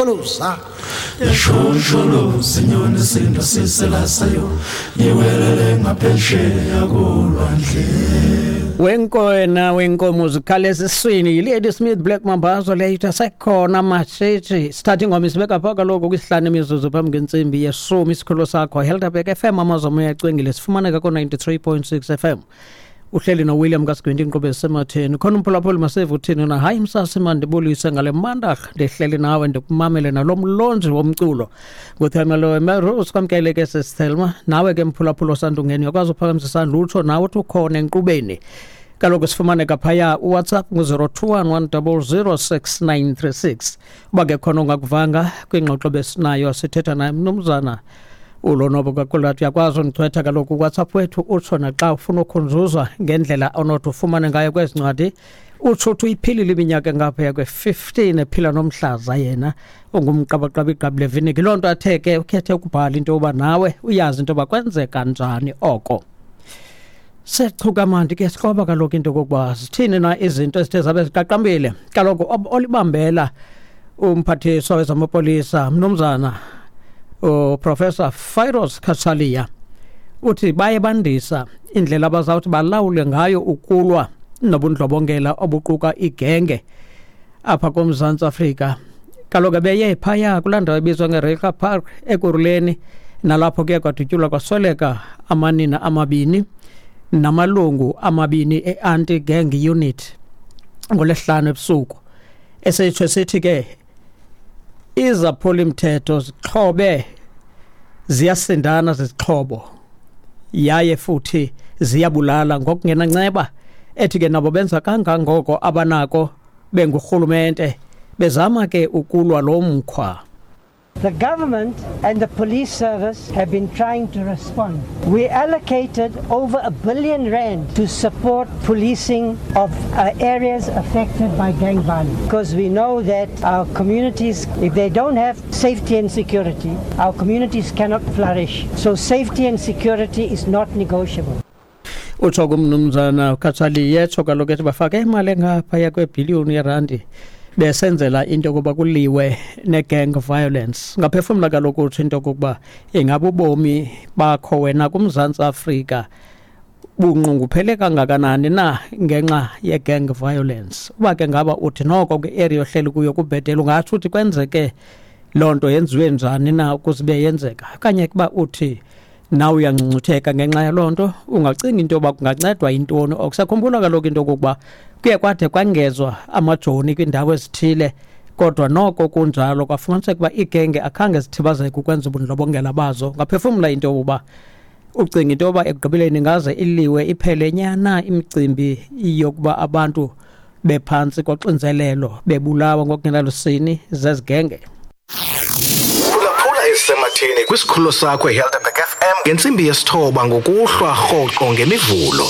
Sholoza. Yashosholoza inyoni isindo siselasayo iwelele ngaphesheya kolwandle. Wenkoena wenkomo zikhala esiswini yiLady Smith Black Mambazo leyo ithi asekhona matshetshi. Sithatha ingoma isibeka phaa kaloku kwisihlanu imizuzu phambi kwentsimbi yeshumi. Isikhululo sakho Helderberg FM, amazwe amoya acwengile, sifumaneka ko-93.6 FM. Uhleli noWilliam kaSigwinti, inkqubo esematheni. Khona umphulaphuli masive uthini na? Hayi msasi, mandibulise ngale mandarha, ndihleli nawe ndikumamele nalo mlonji womculo nguThelma Melrose. Kwamkele ke sesithelma nawe ke mphulaphula osandungeni, uyakwazi uphakamisa isandla utsho nawe uthi ukhona enkqubeni. Kaloku sifumaneka phaya uWhatsApp ngu-021 100 6936. Uba ke khona ungakuvanga kwingxoxo besinayo, sithetha naye mnumzana uLonwabo Kakulati, uyakwazi undichwetha kaloku kuWhatsApp wethu, utsho naxa ufuna ukhunjuzwa ngendlela onothi ufumane ngayo kwezi ncwadi. Utsho uthi uyiphilile iminyaka engaphaya kwe-15 ephila nomhlaza, yena ungumqabaqaba igqabi leviniki. Loo nto athe ke ukhethe ukubhala into yoba nawe uyazi into yoba kwenzeka njani oko. Sechuka mandi ke sikroba kaloku into yokokuba zithini na izinto ezithe zabe ziqaqambile. Kaloku olibambela umphathiswa wezamapolisa mnumzana uProfessor Firoz Cachalia uthi baye bandisa indlela abazawuthi balawule ngayo ukulwa nobundlobongela obuquka igenge apha koMzantsi Afrika. Kaloku beye phaya kulaa ndawo ebizwa ngeReiger Park Ekurhuleni, nalapho kuye kwadutyulwa kwasweleka amanina amabini namalungu amabini e-anti-gang unit ngolwesihlanu ebusuku. Esetsho sithi ke izaphuli-mthetho zixhobe, ziyasindana zizixhobo, yaye futhi ziyabulala ngokungenanceba. Ethi ke nabo benza kangangoko abanako bengurhulumente bezama ke ukulwa lo mkhwa. The government and the police service have been trying to respond. We allocated over R1 billion to support policing of areas affected by gang violence, because we know that our communities, if they don't have safety and security, our communities cannot flourish. So safety and security is not negotiable. Utsho kumnumzana uCachalia, etsho kaloku ethi bafake imali engaphaya kwebhiliyoni yerandi besenzela into yokuba kuliwe ne-gang violence. Ngaphefumla kaloku utsho into yokokuba ingaba ubomi bakho wena kuMzantsi Afrika bunqunguphele kangakanani na ngenxa ye-gang violence. Uba ke ngaba uthi noko kwi-area ohleli kuyo kubhetele, ungatsho uthi kwenzeke loo nto yenziwe njani na ukuze ibe yenzeka, okanye kuba uthi nawe uyangcungcutheka ngenxa yaloo nto, ungacinga into yoba kungancedwa yintoni. Okusakhumbula kaloku into yokokuba kuye kwade kwangezwa amajoni kwiindawo ezithile, kodwa noko kunjalo kwafumaniseka uba iigenge akhange zithibazeke ukwenza ubundlobongela bazo. Ngaphefumla into yokuba ucinga into yoba ekugqibeleni ingaze iliwe iphele nyana imicimbi yokuba abantu bephantsi koxinzelelo bebulawa ngokungenalusini zezigenge. Phulaphula Ezisematheni kwisikhululo sakho eHelderberg FM ngentsimbi yesithoba ngokuhlwa rhoqo ngeMivulo.